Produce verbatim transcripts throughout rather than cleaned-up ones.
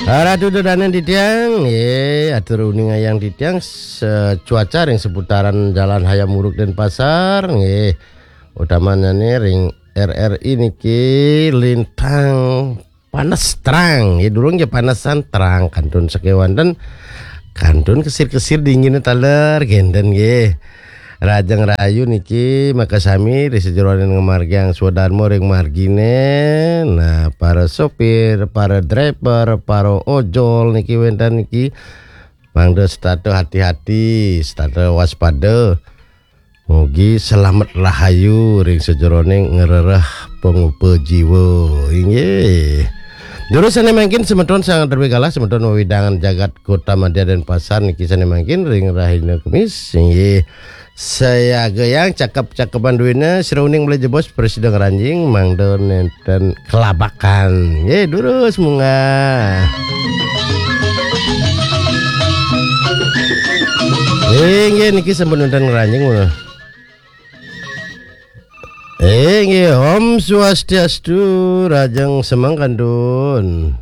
Ratu dodonen titiang, nggih, atur uningayang titiang, se-, cuaca ring seputaran Jalan Hayam Wuruk Denpasar, nggih. Utamane ring R R I niki lintang panes terang, nggih, durung nggih panesan, terang kantun sakewanten, kantun kesir-kesir dingine taler, genten nggih. Rajeng rahayu niki makasami ri sajeroning ngamargiang swadarma ring margine. Nah, para sopir, para driver, para ojol niki wenten niki mangda setata hati-hati, setata waspada. Mugi selamet rahayu ring sajeroning ngrereh pangupa jiwa. Inggih. Durus sane mangkin semeton sanget terbe galah semeton wewidangan jagat Kota Madya Denpasar niki sane mangkin ring rahina Kemis. Inggih. Sayagayang cakep-cakepan duwina sira uning malih jebos prasida ngranjing mangda nenten kelabakan. Nggih, durus munggah. Inggih, niki sampun nenten ngranjing. Inggih, Om Swastiastu, rajeng semeng kantun.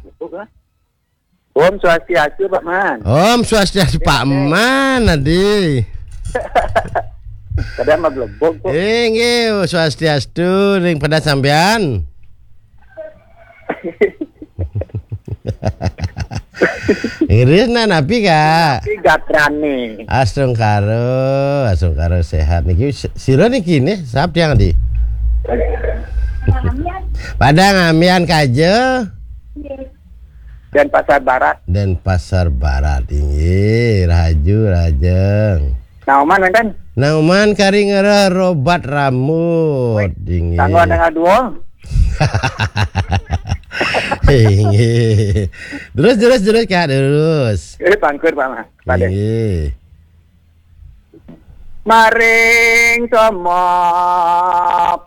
Om Swastiastu, Pak Man. Om Swastiastu, Pak Man, adi. Kadang mah blebok kok. Inggih, Swastiastu, ring pada sampean. Iris nah napi, Kak? Tapi gatrane. Astungkara, astungkara sehat niki. Si-, sira niki nih, sap tiang di? Padang Ambian kaja. Denpasar Barat. Denpasar Barat, inggih, rahaju, rajeng. Nauman wenten? Nauman kari ngerah robat rambut, inggih. Tanggal tanggal dua. Inggih. Terus, terus, terus, Kak, terus. Eh, pangkur, Pak Mas. Pada. Inggih. Maring sama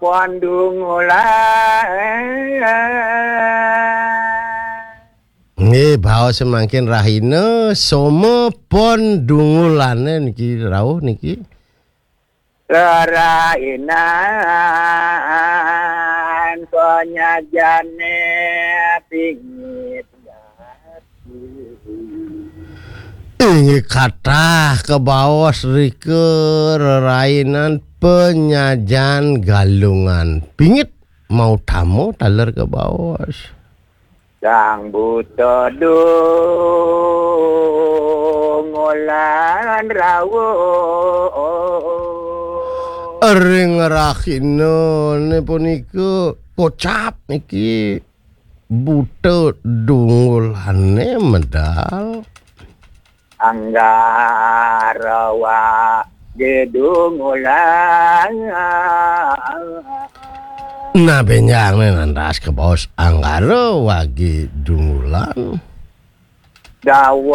pandungulan. Nggih, baos mangkin rahina, sama pon dungulane niki rauh niki. Rerainan penyajane pingit gati. Inggih kathah kabaos rika rerainan penyajan Galungan Pingit mautama taler kabaos. Sang buta dungolan rawuh. Ring rahinane punika kocap niki buta dungulane medal. Anggara wage dungulan. Nah, benjang nih nantas kabaos Anggara wage dungulan. Dawa